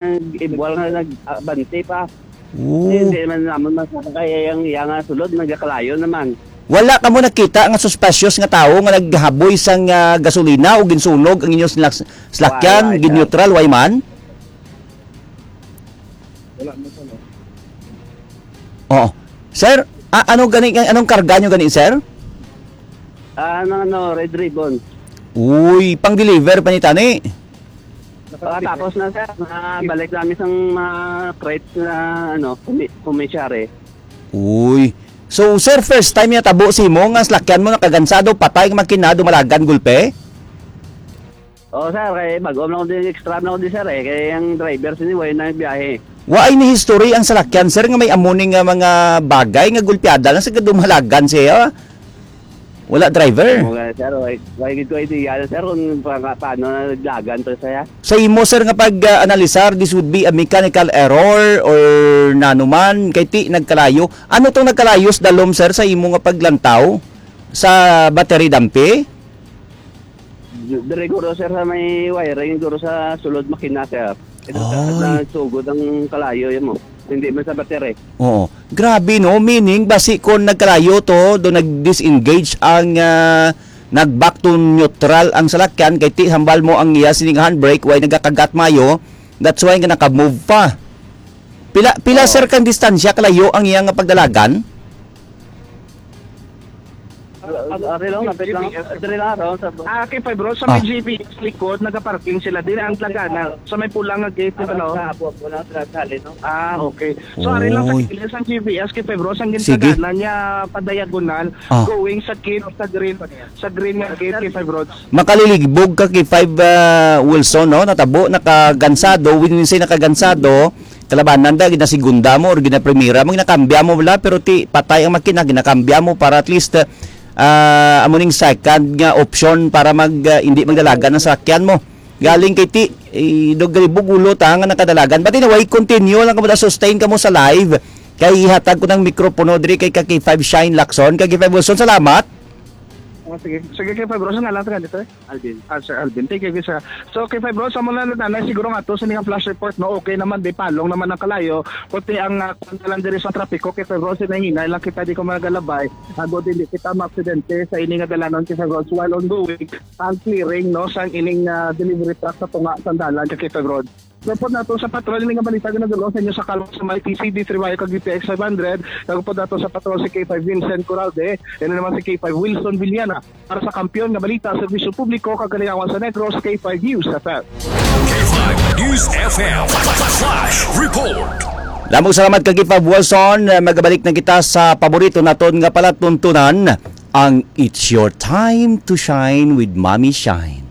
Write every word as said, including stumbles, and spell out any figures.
nag-ibuwal nga nag-abante pa. Oo. Hindi man namon masakay ang iya nga sulod, nagakalayo naman. Wala kamo nakita nga suspicious nga tawo nga naghaboy sang, ah, gasolina o ginsunog ang inyong slak-, slakyan, Wala, wala. Gin-neutral, way man? Wala mo sa, no? Oo. Sir, a-, ano gani, anong karga nyo gani, sir? Ah, ano, ano, Red Ribbon. Uy, pang-deliver pa ni tani. Nakatapos na, sir. Nabalik namin sang mga crates na, ano, kumi-, kumisyari. Uy. So, sir, first time niya tabo si mo nga slakyan mo nakagansado, patay nga makina, dumalagan, gulpe? Oo, sir. Kay bag-o lang ko din, extra lang ko din, sir, eh. Kay ang driver sini, way na biyahe. Waay ni history ang salakyan, sir, nga may amo ni nga mga bagay nga gulpiada lang sa dumalagan siya. Wala driver. Mo nga, sir, way, way gid ko idea, sir, kung pa-, paano na naglagan to siya. Sa imo, sir, nga pag-analisar, this would be a mechanical error or nanuman, kay ti nagkalayo. Ano tong nagkalayo sa dalom, sir, sa imo nga paglantaw sa battery dampi? Dire guro, sir, sa may wiring, guro sa sulod makina, sir. Ito sa, Ay. Nasugod ang kalayo, yan mo. Hindi man sa battery. Oo. Grabe, no? Meaning, basi kon nagkalayo to, do nag-disengage ang, ah, nag-back to neutral ang salakyan, kay ti hambal mo ang iya sining handbrake, way nagakagat mayo, that's why nga naka-move pa. Pila, pila, Oo. Sir, kang distansya kalayo ang iya nga pagdalagan? Ar-, ar-, ari lang, lapit lang. G P S. Diri lang, around sa Ah, K five Road, sa may Ah. G P S likod, nagaparking sila. Diri ang dalagan, sa may pula nga gate, ano? Sa apo, wala sa sali, no? Ah, okay. So, ari lang sa Oy. Kilid sang G P S, K five Road, ang Sige. Gintaganan niya, padiagonal, Ah. going sa gate, sa green, sa green nga gate, K five Road. Makaligbog ka, K five, ah, Wilson, no? Natabo, nakagansado, when we say nakagansado, kalabanan da, ginasigunda mo or ginaprimera mo, ginakambya mo wala, pero ti patay ang makina, ginakambya mo para at least, ah, amo ning second nga option para mag, ah, hindi magdalagan ang sakyan mo. Galing kay ti, eh, dog galibog ulo ta nga nakadalagan. But anyway, continue lang kamo, sustain kamo sa live. Kay ihatag ko ng mikropono diri kay ka K five Shine Lacson. Ka K five Wilson, salamat. Oh, sige. Sige, K five Wilson, nga lang ka dito, eh. Alvin. Ah, Sir Alvin. Thank you, sir. So, K five Road, sa muna na, na, siguro nga to, sa nga flash report, no? Okay naman, di palong naman ang kalayo. Kundi ang, ah, kung lang diri sa trapiko, K five Road, sinahinay lang kita, di ko magalabay. Ago, dili kita maaksidente sa ini nga dalanon, K five Road. While ongoing, ang clearing, no, sa ining, ah, delivery truck sa tunga, sa dalan, sa K five Road. Report nato sa patrol, ini nga balita, ginadulong sa inyo sa kalwa sa may T C D three Y kag D T X five hundred. Report nato sa patrol si K five Vincent Coralde, ini naman si K five Wilson Villana. Para sa Kampiyon nga Balita, Serbisyo Publiko, kag Kaliyawan sa Negros, K five News F M. K five News F M Flash Report. Lamang salamat kag K five Wilson. Magabalik na kita sa paborito naton nga palatuntunan, ang It's Your Time to Shine with Mommy Shine.